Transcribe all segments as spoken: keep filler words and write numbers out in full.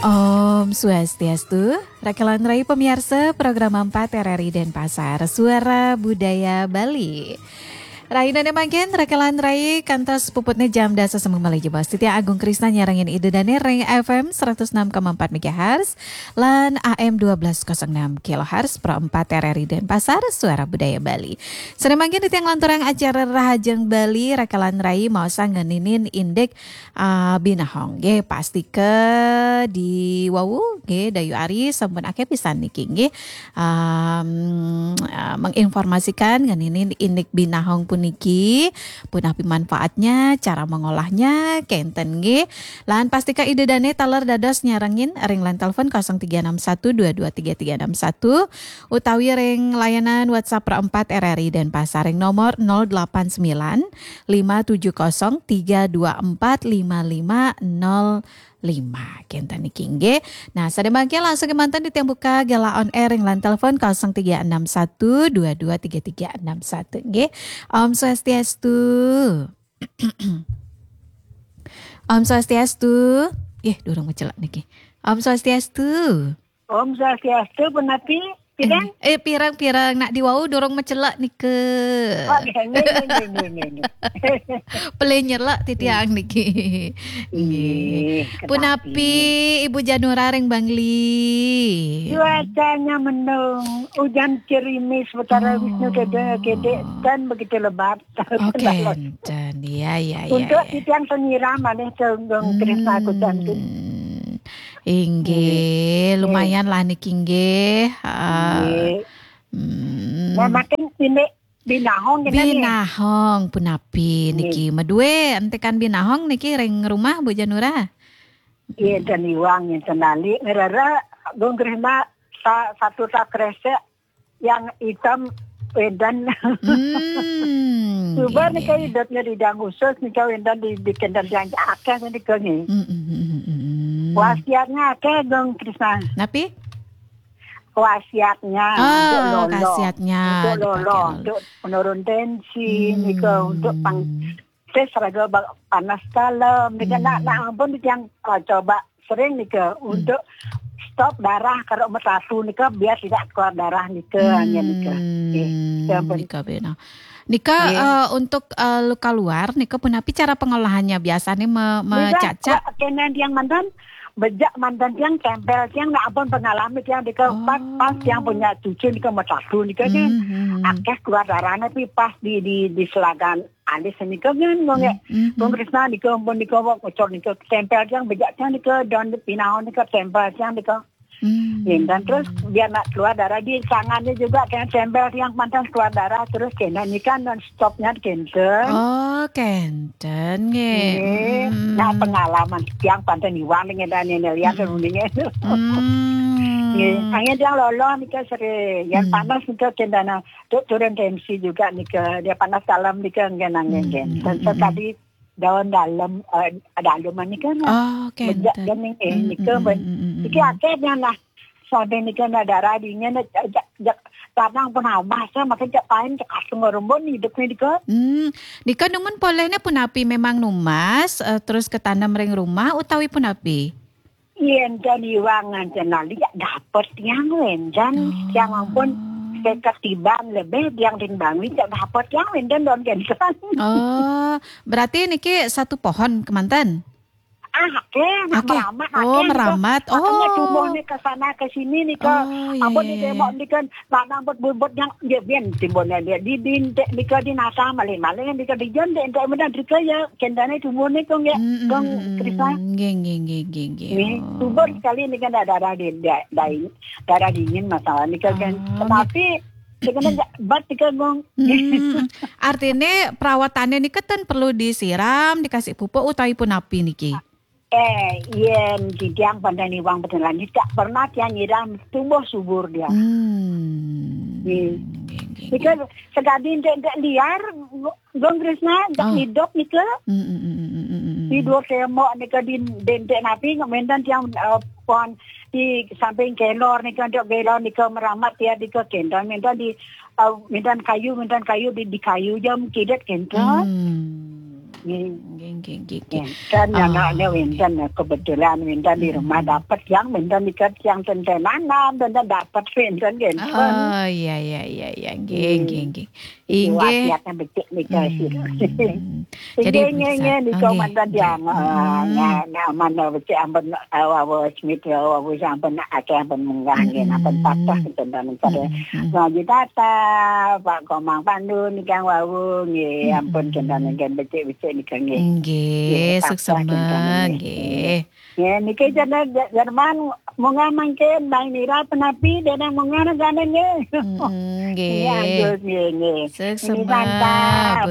Om Swastiastu, rakelan rai pamiarsa Program empat R R I Denpasar, Suara Budaya Bali. Rahina mangkin, rakelan rai kantos puputnya jam dasa sambung malih jebos. Titiang Agung Krisna nyarengin Ida Dane ring F M seratus enam koma empat megahertz lan A M dua belas kosong enam kilohertz, Pro empat R R I Denpasar, Suara Budaya Bali. Sane mangkin titiang nglanturang acara Rahajeng Bali, rakelan rai maosang ngeninin indik ah, binahong. Nggih, pastika di wau, nggih, Dayu Ari sampun akeh pisan niki, nggih. Am, ah, menginformasikan ngeninin indik binahong puniki, punapi manfaatnya, cara mengolahnya, kenten, nggih. Lan pastika Ida Dane taler dados nyarengin ring line telepon kosong tiga enam satu dua dua tiga tiga enam satu utawi ring layanan WhatsApp Pro empat R R I Denpasar ring nomor nol delapan sembilan lima tujuh kosong tiga dua empat lima lima nol lima. Kenten niki, nggih. Nah, sade mangkin langsung kemanten titiang buka galah on air ring line telepon kosong tiga enam satu dua dua tiga tiga enam satu, nggih. Om Swastiastu. Om Swastiastu. Nggih, durung mecelak niki. Om Swastiastu. Om Swastiastu, punapi? Pirang? Eh, eh, pirang-pirang nak di wau durung mecelak nika. Oh, nggih, nggih, nggih, nggih, nggih, nggih. Pelih nyelak titiang niki. Nggih. Nggih, punapi, Ibu Janura ring Bangli? Cuacanya mendung, hujan gerimis, Betara Wisnu kedek-kedek, dan begitu lebat. Oh, kenten. Ya, ya, ya, untuk ya. Titiang sing nyiram malih, Gung Krisna, kucantu. Inggih, nggih, lumayan lah niki, nggih. Ah, nggih. Hmm. Nah, mangkin indik binahong kenten nggih. Binahong punapi niki? Nggih. Madue entikan binahong niki ring rumah, Bu Janura? Iya, ten iwang, ten lali. Ngrera, Gung Krisna, sa-, satu tak kresek yang hitam, wedan. Hmm, suba nggih, nika nggih, idepnya di dang khusus, nika wedan di, di kendel yang akeh nika nggih. Hmm, hmm, hmm, hmm, hmm. Wasiatnya akeh, Gung Krisna. Napi? Wasiatnya. Oh, untuk lolo. Khasiatnya untuk lolo, dipakai lolo. Untuk menurun tensi, hmm, nika untuk pang-, tes raga ba-, panas dalam, nika, hmm, nak, nak ampun yang, ah, coba sering nika, hmm, untuk stop darah kalau mersatu nika biar tidak keluar darah nika, hmm, hanya nika. Nggih, ya ampun. Nika bena. Nika, nggih, eh, untuk, eh, luka luar nika punapi cara pengolahannya? Biasanya me-, nika mecacak? Kenen yang mantan, bejak mantan tiang tempel tiang nak ampun pengalami tiang nika, oh, pas, pas tiang punya cucu nika mersatu nika kan. Hmm, hmm, hmm. Akeh keluar darahnya, tapi pas di, di, di selagan alis nika kan, Gung, ya. Hmm, hmm, hmm. Gung Krisna nika, ampun nika, wak ngocor nika, tempel tiang, bejak tiang nika, daun pinahon nika, tempel tiang nika. Hmm. Nggih, dan terus biar nak keluar darah di tangannya juga, kena tempel tiang, mantan keluar darah, terus kena nika non stopnya kenten. Oh, kenten, nggih. Nggih. Hmm. Nah, pengalaman tiang panten iwang dengan dan ini lihat, hmm, mendingan. Hmm. Nggih, hanya tiang lolo nika sering, yang, hmm, panas nika kendana. Tu-, turun tensi juga nika, dia panas dalam nika, nggih, nggih, nggih. Hmm, hmm, hmm, hmm. Dan tadi daun dalam, eh, dalam nika, nah. Oh, bejak kenten. Nika, eh, hmm, nika, hmm, hmm, hmm, hmm, iki hmm, akhirnya, nah, sampai nika, nah, darah dingin, nah, jak, jak, jak, tanang pun habas, nah, makin jak pain, jak kasung rumbun hidup nika. Hmm, nika numun polehnya punapi, memang numas, eh, terus ketanam ring rumah utawi punapi? Yen ten iwang nganten lali, ya dapet tiang, wen ten. Oh. Tiang ampun seket tiban lebih tiang ring Bangli, ya dapet tiang, wen ten don kenten. Oh, berarti niki satu pohon kemanten? Ah, akeh, nak, akeh, meramat, oh, akeh, meramat. Makanya, oh, tumbuh ni ke sana ke sini ni ke, oh, iya, ampun, iya, di tembok iya, ni kan, lanang buat buat yang dia bien timbulnya dia di, di, di, di ke di nasa malih-malih, di ke di jon, di, di, di ke ya, kendane tumbuh ni kong ya, mm, mm, kong, mm, mm, Krisna. Nggih, nggih, nggih, nggih, nggih. Nggih, oh, subur sekali ni kan darah di, di, di, darah dingin masalah ni kan. Oh, tetapi, nggih, sebenarnya bat ni kan, Gung. Hmm, artine perawatannya ni kan perlu disiram, dikasih pupuk utawi punapi niki? Eh, yen titiang pandai niwang petelan, tidak pernah tiang nyiram, tumbuh subur dia. Hmm. Nggih. Nggih, nggih, nggih. Nika sekadi entek-entek liar, Gung Krisna, entek, oh, hidup nika. Hmm, hmm, hmm, hmm, hmm, hmm, hmm. Di dua tembok nika di, di entek napi, ngemendan tiang, eh, pohon di samping kelor nika, entek kelor nika meramat ya, nika kendang, mendan di, eh, mendan kayu, mendan kayu di, di kayu jam kidet kendang. Hmm. Nggih, nggih, nggih, nggih. Wénten, anaknya wénten, kebetulan wénten di rumah dapat yang wénten di yang tenten nanam, wénten dapat wénten, wénten. Oh, iya, iya, iya, iya. Nggih, nggih, nggih. Inggih. Wasiatnya becik nika sih. Hmm. Jadi, nggih, nggih, nggih, nika mantan yang, eh, nah, nah, mana becik ampun, eh, wawa Smith, wawa sampun akeh ampun munggah, nggih, ampun patah, wénten pada ngaji tata, Pak Komang Pandu nika wau, nggih, ampun, wénten nika becik-becik nika, nggih. Nggih, nggih, suksema, nggih. Nggih, niki jane Jerman munggah mangkin, Bang Nira penapi, dene munggah negane, nggih. Mm-mm, nggih. Nggih, anjus, nggih, nggih. Suksema,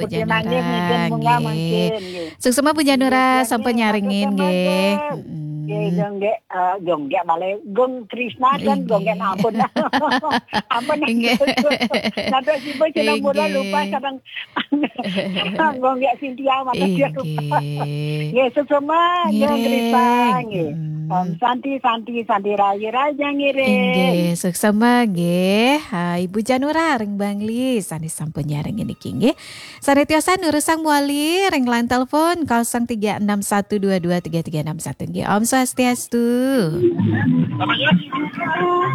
Bu Janura, nggih. Suksema, Bu Janura, sampun nyarengin, nggih. Mm-mm. Nggih, nggih, eh, nggih, balik. Gung Krisna kan, nggih, ampun. Ampun. Nggih. Nanti si Bu Janura lupa kadang. Gung nggih Sintia, mana dia lupa. Nggih. Nggih, suksema, nggih, Gung Krisna, nggih. Mm-mm. Om Santi, Santi, Santi Raja, Raja ngiring. Inggih, suksema nggih. Ha, Ibu Janura ring Bangli, sane sampun nyarengin niki nggih. Sane tiosan nurusang mawali ring line telepon kosong tiga enam satu dua dua tiga tiga enam satu nggih. Om Swastiastu.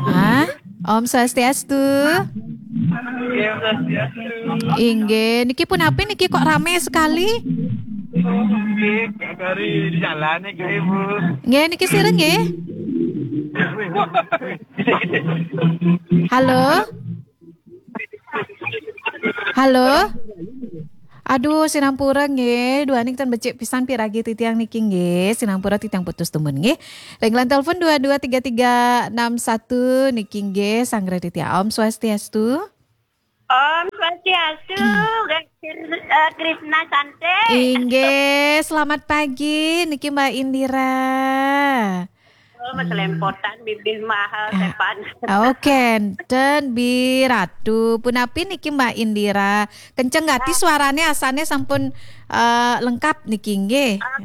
Hah? Om Swastiastu. Inggih, Om Swastiastu. Inggih, niki punapi niki kok rame sekali? Oh, nggih, dari jalan niki, Bu. Nggih, niki sira nggih. Halo? Halo? Aduh, sinampura nggih, duaning ten becik pisan piragi titiang niki nggih. Sinampura titiang putus tumun nggih. Ring line telepon dua dua tiga tiga enam satu niki nggih, sanggra titiang. Om Swastiastu. Om Swastiastu, Kir-, eh, Krisna Sante. Inggih, selamat pagi niki Mbak Indira. Oh, mas lempotan bibih mahal sepan. Oh, kenten Bi Ratu. Punapi niki Mbak Indira? Kenceng gati suarane, asane sampun, eh, lengkap niki nggih. Ah,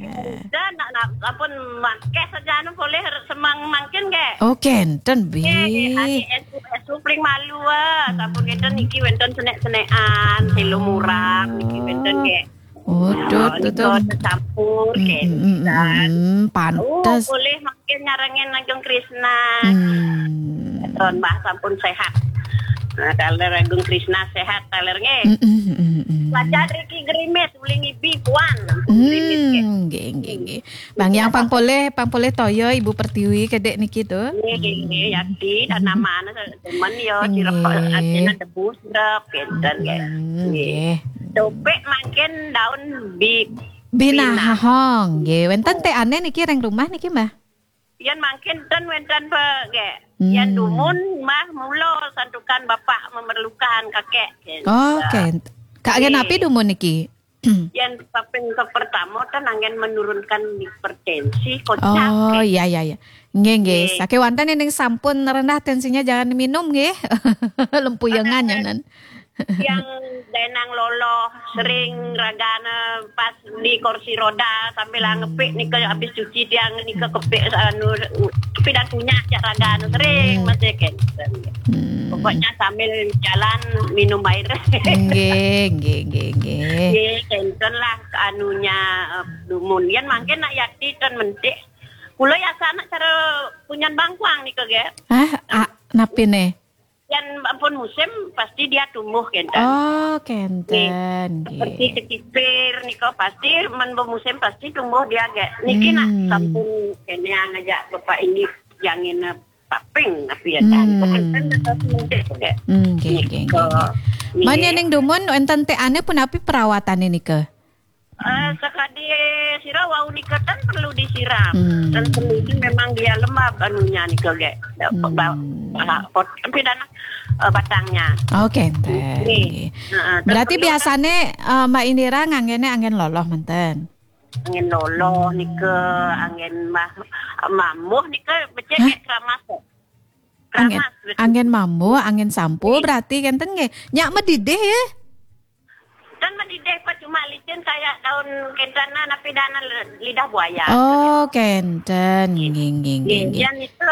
dan nak, nak, ampun mangke saja anu boleh semang mangkin nggih. Oh, kenten Bi. Nggih, nggih, adi esu, esu paling malu, ah. Sampun kenten niki wénten senek-senekan, selo murang niki wénten nggih. Waduh, nika tercampur, mm, mm, mm, mm, pantes. Oh, boleh mangkin nyarengin Agung Krisna. Hmm. Ron Mbah sampun sehat. Nah, taler Agung Krisna sehat, taler nggih. Mm, mm, mm, mm. Lajar Riki Gerimis, uli ngibi puan. Gerimis nggih. Hmm, nggih, nggih, nggih. Bang yang pang polih, pang polih toya Ibu Pertiwi kedek niki to. Nggih, nggih, nggih, yakti, tanaman, temen ya, sirep, nggih, artinya debu, sirep, kenten nggih. Hmm, nggih. Nggih. Topik mangkin daun bi-, binahong, nggih. Wénten, oh, teane niki ring rumah niki, Mbah? Yen mangkin ten wénten pe, nggih. Yen, hmm, dumun, Mbah, mula santukan Bapak memerlukan kakek, nggih. Oh, oke. Kak, nggih, napi dumun niki? Yen kaping kepertama kan anggen menurunkan hipertensi, kocak. Oh, iya, iya, iya. Nggih, nggih. Nggih. Sakewanten ning sampun rendah tensinya jangan minum nggih. Lempuyengan nyanan. Yang denang loloh sering ragane pas di kursi roda sambil ngepik nika habis cuci tiang nika kepik anu pidan punya cak ragane sering masih kenten. Hmm. Pokoknya sambil jalan minum air. Nggih, nggih, nggih, nggih. Nggih, kenten lah anunya, eh, dumun. Yen mangkin nak yakti ten mentik. Kula ya sana cara punyan bangkuang nika nggih. Hah? Ah, napine? Yen ampun musim pasti dia tumbuh kenten. Oh, kenten, nggih. Seperti kecipir nika pasti men musim pasti tumbuh dia nggih. Niki nak, hmm, sampun kene ngajak Bapak ini jangin, eh, paping tapi ya kan. Hmm. Kenten tetap mentik nggih. Hmm, nggih, nggih, nggih, nggih. Nika, nggih. Manya ning dumun wénten teane punapi perawatane nika? Eh, sakadi sira wau nika ten perlu disiram. Hmm. Ten perlu itu memang dia lembab anunya nika nggih. Hmm. Ba-, ba-, pot-, tapi dana, eh, batangnya. Oke, nggih. Nggih. Heeh, berarti biasane, eh, Mbak Indira nganggene anggen loloh menten? Anggen loloh nika, anggen mah-, mamuh nika becik. Hah? Kayak keramas kok. Anggen, keramas, betul. Anggen mamuh, anggen sampo, nggih, berarti kenten nggih. Nyak medidih ya? Kan mendidih Pak, cuma licin kayak daun kentana, napi dana lidah buaya. Oh, kenten. Nggih, nggih, nggih, nggih. Yang itu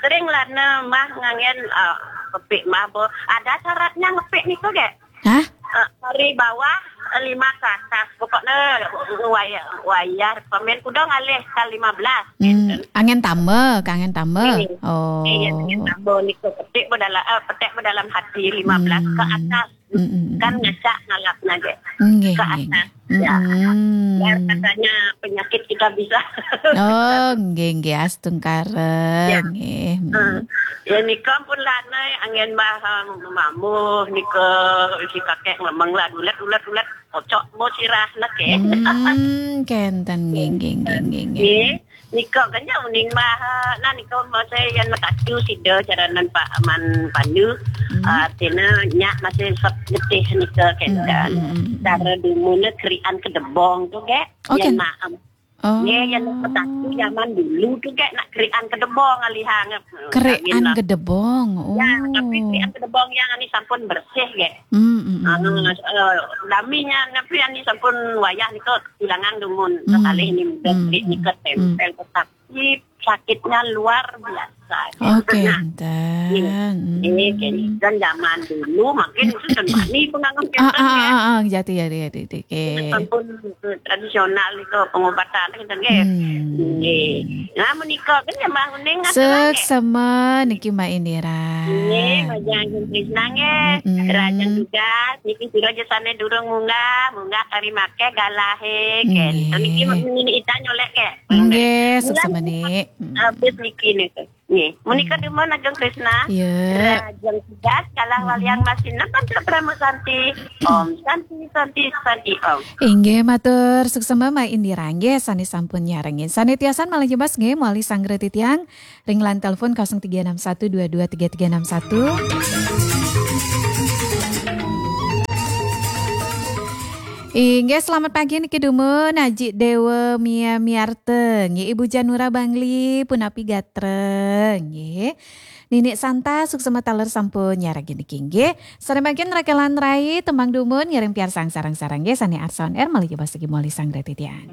sering lah ne mah ngangen, eh, kepik mah bo. Ada syaratnya ngepik niku, nggih? Hah? Eh, dari bawah Lima ke atas. Pokoknya wayah, wayah pemain kuda ngalih ke lima belas. Hmm, angin tambah, ke angin tambah. Eh, oh. Eh, ya, angin tambah nika petik berdalam, eh, petik berdalam hati lima belas ke atas. Hmm. Hmm, hmm, hmm. Kan ngacak ngalap naga. Nggih, ke atas. Nggih. Ya. Hmm. Biar katanya penyakit kita bisa. Oh, nggih, nggih, astungkara. Ya. Nggih. Hmm. Hmm. Ya, nika pun lanai angin bah, um, mamuh, nika si kakek memang lah, ulet, ulet, ulet. Kocok mo sirah nak, eh. Hmm, kenten, nggih, nggih, nggih, nggih, nggih. Nggih, nika kan ya uning bah, nah nika masa yang matacu sida caranan Pak Aman Pandu. Hmm. Ah, tina nyak masih sep getih nika kenten. Hmm, hmm, hmm, hmm. Cara dumune kerian kedebong tu, gek. Oh, yang ken- maem. Oh. Nggih, yang matacu zaman dulu tu, gek, nak kerian kedebong alihang. Kerian kedebong. Ya, tapi kerian kedebong yang ani sampun bersih, gek. Hmm, hmm, hmm. Anu, eh, daminya, tapi ani sampun wayah nika tulangan dumun, hmm, kekalih ni, hmm, nika tempel tetap. Ini sakitnya luar biasa. Oke, nah, enten. Ini, ini kan zaman dulu makin susun mani pengangon. Ah, kenten, ah, ya. Ah, ah, jati, jati, jati, jati. Oke. Sampun, eh, tradisional itu pengobatan kenten, nggih. Hmm. Nggih. Nah, menika kan ya Mbah Uning ngaturang, nggih. Suksema niki Mbak Indira. Nggih, Mbah Jang Krisna, nggih. Mm-mm. Rajan tugas niki sira aja sane durung munggah, munggah kari make galahe, kenten. Nggih. Niki mini ita nyolek, nggih. Nggih, suksema, Nik. Habis niki niku. Nggih, menika dumun Ajeng Krisna. Ya. Rajeng tugas kalah waliang masih nonton Pramu Santi. Om Santi, Santi, Santi, Om. Inggih, matur suksema Mbak Indira nggih, sane sampun nyarengin. Sane tiasan malih jebas nggih, malih sanggra titiang ring line telepon kosong tiga enam satu dua dua tiga tiga enam satu. Inggih, selamat pagi niki dumun Aji Dewa Mia Miarte. Nggih, Ibu Janura Bangli, punapi gatra. Nggih. Nini Santa, suksema taler sampun nyarengin niki nggih. Sare mangkin rekelan rai, tembang dumun, ngiring piarsang sareng-sareng nggih, sane arsa on air, malih jebas lagi moli sang titiang.